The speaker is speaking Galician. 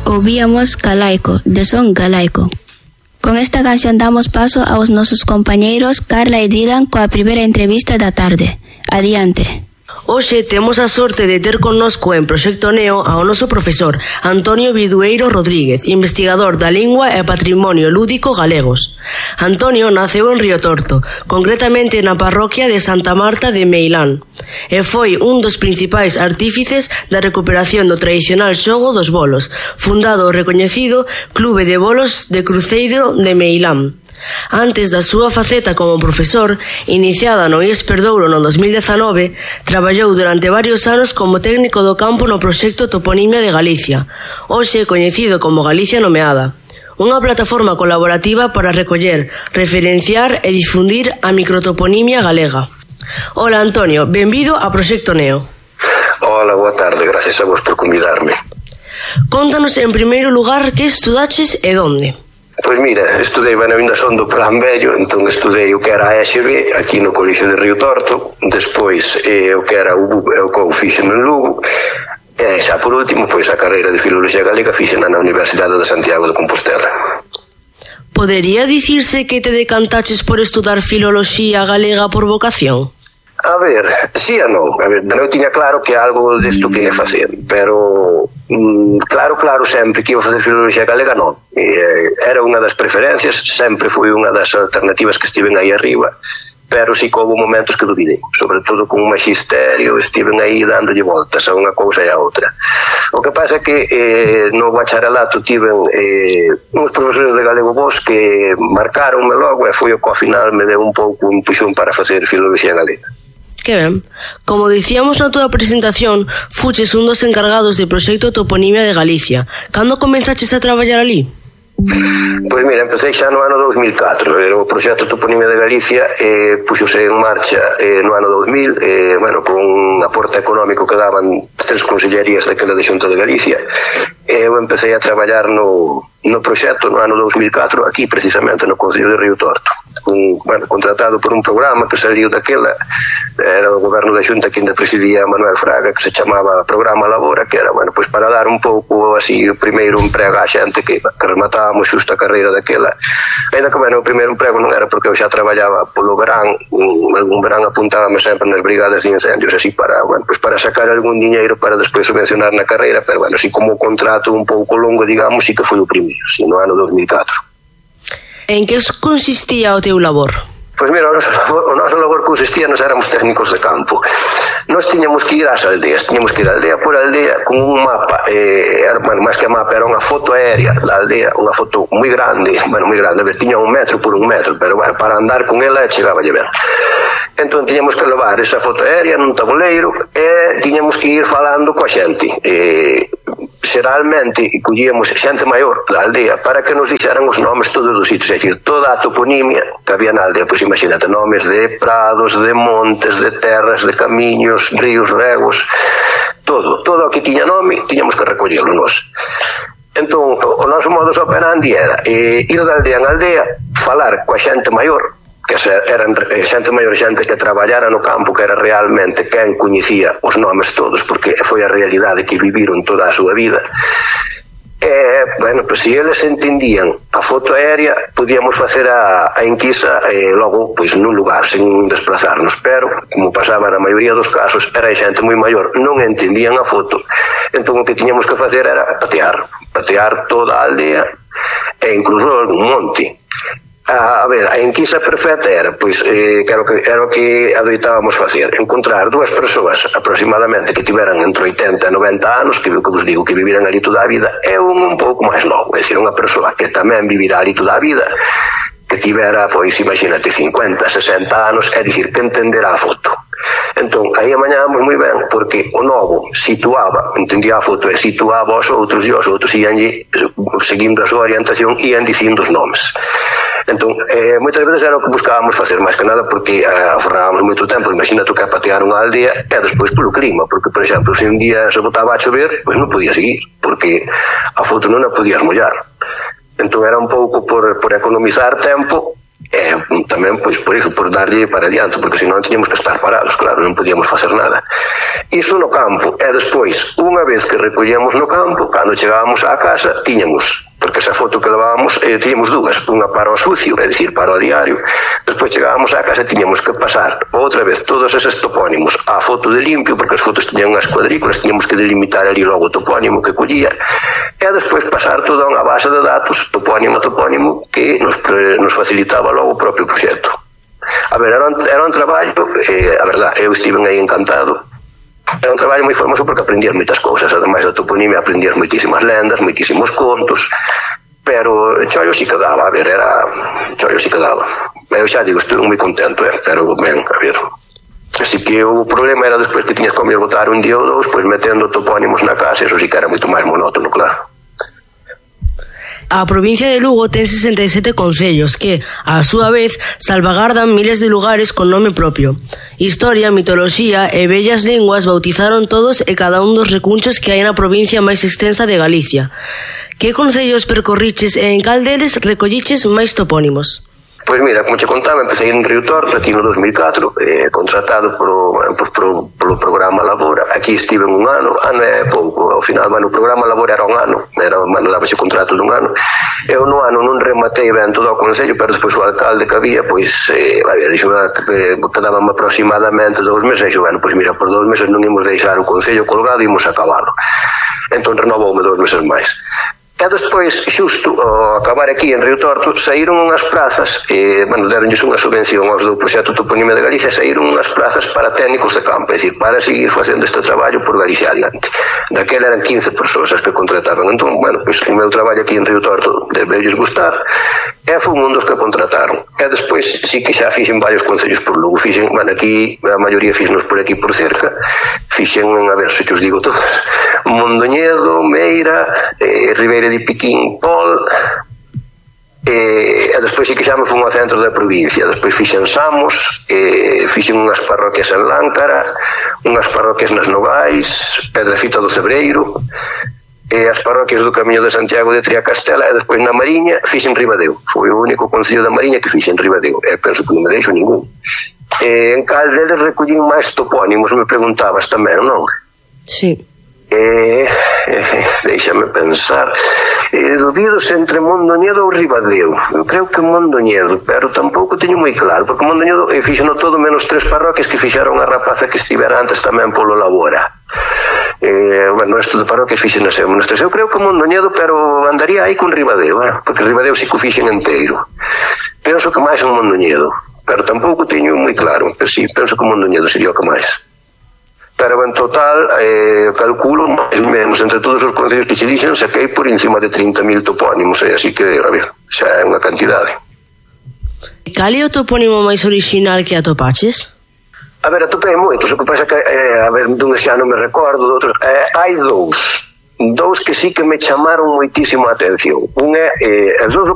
ouvíamos Galaico, de son galaico. Con esta canción damos paso aos nosos compañeiros Carla e Dylan coa primeira entrevista da tarde. Adiante. Hoxe temos a sorte de ter connosco en Proxecto Neo ao noso profesor Antonio Bidueiro Rodríguez, investigador da lingua e patrimonio lúdico galegos. Antonio naceu en Río Torto, concretamente na parroquia de Santa Marta de Meilán, e foi un dos principais artífices da recuperación do tradicional xogo dos bolos, fundado o recoñecido Clube de Bolos de Cruceiro de Meilán. Antes da súa faceta como profesor, iniciada no IES Perdouro no 2019, traballou durante varios anos como técnico do campo no proxecto Toponimia de Galicia, hoxe coñecido como Galicia Nomeada, unha plataforma colaborativa para recoller, referenciar e difundir a microtoponimia galega. Hola Antonio, benvido a Proxecto Neo. Hola, boa tarde, gracias a vos por convidarme. Contanos en primeiro lugar que estudaches e donde. Pois mira, estudei, ainda son do Plan Vello, entón estudei o que era a ESB aquí no Colexio de Río Torto, despois o que era o COU fixen en Lugo, e xa por último, pois a carreira de Filoloxía Galega fixen na Universidade de Santiago de Compostela. Podería dicirse que te decantaches por estudar Filoloxía Galega por vocación? A ver, sí e non. A ver, eu tiña claro que algo desto que ia facer, pero claro, sempre que iba facer Filoloxía Galega non. Era unha das preferencias, sempre foi unha das alternativas que estiven aí arriba, pero sí que houve momentos que dubidei, sobre todo con un magisterio, estiven aí dándolle voltas a unha cousa e a outra. O que pasa é que no bacharelato tiven uns profesores de galego bons que marcaronme logo e foi o que ao final me deu un pouco un puxón para facer Filoloxía Galega. Que ben. Como dicíamos na túa presentación, fuches un dos encargados do proxecto Toponimia de Galicia. Cando comenzaches a traballar ali? Pois mira, empecé xa no ano 2004. O proxecto Toponimia de Galicia puxose en marcha no ano 2000, con un aporte económico que daban 3 consellerías daquela de Xunta de Galicia. Eu empecé a traballar no proxecto no ano 2004 aquí precisamente no Concello de Río Torto, contratado por un programa que saliu daquela, era o goberno da Xunta que ainda presidía Manuel Fraga, que se chamaba Programa Labora, que era para dar un pouco así o primeiro emprego á xente que rematábamos xusto a carreira daquela. Ainda que o primeiro emprego non era porque eu xa traballaba polo verán, algún verán apuntábame sempre nas brigadas de incendios así para sacar algún diñeiro para despois subvencionar na carreira, pero así como o contrato un pouco longo, digamos, sí que foi o primeiro, sí, no ano 2004. En que consistía o teu labor? Pois mira, o noso labor consistía, nos éramos técnicos de campo. Nos tiñamos que ir ás aldeas, tiñamos que ir aldea por aldea con un mapa, máis que mapa, era unha foto aérea da aldea, unha foto moi grande, a ver, tiña 1 metro por 1 metro, pero para andar con ela chegáballe ben. Entón tiñamos que levar esa foto aérea nun tabuleiro e tiñamos que ir falando coa xente. Xeralmente collíamos xente maior da aldea para que nos dixeran os nomes todos os sitios, é dicir, toda a toponimia que había na aldea, pois imagínate, nomes de prados, de montes, de terras, de camiños, ríos, regos, todo o que tiña nome tiñamos que recollelo nós. Entón, o noso modus operandi era ir de aldea en aldea, falar coa xente maior, que eran xente maior, xente que traballara no campo, que era realmente quen coñecía os nomes todos, porque foi a realidade que viviron toda a súa vida. Se eles entendían a foto aérea, podíamos facer a enquisa logo, pois, nun lugar, sen desplazarnos, pero, como pasaba na maioría dos casos, era xente moi maior, non entendían a foto, entón o que tiñamos que facer era patear toda a aldea e incluso algún monte. A ver, a enquisa perfecta era, pois, era o que adoitábamos facer, encontrar 2 persoas aproximadamente que tiveran entre 80 e 90 anos, que vos digo que viviran ali toda a vida, e un pouco máis novo, é dicir, unha persoa que tamén vivirá ali toda a vida, que tivera, pois, imagínate, 50, 60 anos, é dicir, que entenderá a foto. Entón, aí amañábamos moi ben, porque o novo entendía a foto e situaba os outros, e os outros ian, seguindo a súa orientación, ian dicindo os nomes. Entón, moitas veces era o que buscábamos facer, máis que nada porque aforrábamos moito tempo. Imagina tú que patear unha aldea e despois polo clima, porque, por exemplo, se un día se botaba a chover, pois non podía seguir, porque a foto non a podías mollar. Entón era un pouco por economizar tempo tamén, pois, por iso, por darlle para adiante, porque senón tiñamos que estar parados, claro, non podíamos facer nada. Iso no campo, e despois, unha vez que recollíamos no campo, cando chegábamos á casa, tiñamos, porque esa foto que levábamos, tiñamos dúas, unha para o sucio, é dicir, para o diario, despois chegábamos á casa e tiñamos que pasar outra vez todos eses topónimos á foto de limpio, porque as fotos tiñan unhas cuadrículas, tiñamos que delimitar ali logo o topónimo que collía, e despois pasar toda unha base de datos, topónimo a topónimo, que nos facilitaba logo o propio proxecto. A ver, era un traballo, a verdad, eu estive aí encantado. Era un traballo moi formoso porque aprendías moitas cousas, ademais da toponimia aprendías moitísimas lendas, moitísimos contos, pero chollo si que daba, a ver, chollo si que daba. Eu xa digo, estuve moi contento, pero ben, a ver. Así que o problema era despois que tiñas que botar un día ou dous, pois metendo topónimos na casa, eso sí que era moito máis monótono, claro. A provincia de Lugo ten 67 concellos que, á súa vez, salvagardan miles de lugares con nome propio. Historia, mitoloxía e bellas linguas bautizaron todos e cada un dos recunchos que hai na provincia máis extensa de Galicia. Que concellos percorriches e en cal deles recolliches máis topónimos? Pois mira, como che contaba, empecé en Río Torto aquí no 2004, contratado polo programa Labora. Aquí estive un ano é pouco, ao final, o programa Labora era un ano, dábase contrato dun ano. Eu no ano non rematei ben todo o concello, pero despois o alcalde que había, pois, dixo que quedaban aproximadamente 2 meses, e dixo, pois mira, por 2 meses non imos deixar o concello colgado e imos acabalo. Entón renovoume 2 meses máis. E despois, xusto ao acabar aquí en Río Torto, saíron unhas plazas, deronlles unha subvención aos do proxecto Toponimia de Galicia, saíron unhas plazas para técnicos de campo, é dicir, para seguir facendo este traballo por Galicia adiante. Daquela eran 15 persoas as que contrataban. Entón, pois o meu traballo aquí en Río Torto debeulles gustar, e foi un dos que contrataron. E despois, sí que xa fixen varios concellos por Lugo, fixen, aquí, a maioría fixenos por aquí por cerca, fixen, a ver, se os digo todos, Mondoñedo, Meira, Ribeira de Piquín, Pol, e despois sí que xa me fun ao centro da provincia. Despois fixen Samos, fixen unhas parroquias en Láncara, unhas parroquias nas Nogais, Pedrafita do Cebreiro, e as parroquias do Camiño de Santiago de Triacastela, e despois na Mariña fixen Ribadeo. Foi o único concello da Mariña que fixen Ribadeo, e penso que non me deixo ningún. En cal deles recollín máis topónimos, me preguntabas tamén, non? Sí. Déixame pensar, dubidos entre Mondoñedo ou Ribadeo. Eu creo que Mondoñedo, pero tampouco teño moi claro, porque Mondoñedo fixeno todo menos 3 parroquias que fixeron a rapaza que estivera antes tamén polo Labora. Isto de parroquias fixen as menos 3. Eu creo que Mondoñedo, pero andaría aí con Ribadeo, porque Ribadeo sí que o fixen inteiro. Penso que máis en Mondoñedo, pero tampouco teño moi claro, pero sí, penso que Mondoñedo sería o que máis. Pero en total, calculo máis ou menos entre todos os concellos que che dixen, saquei por encima de 30.000 topónimos, así que, a ver, xa é unha cantidade. Cal é o topónimo máis orixinal que atopaches? A ver, atopei moitos, o que pasa que, a ver, dun xa non me recordo, de outros, hai dous que sí que me chamaron moitísimo a atención. Un é, os dous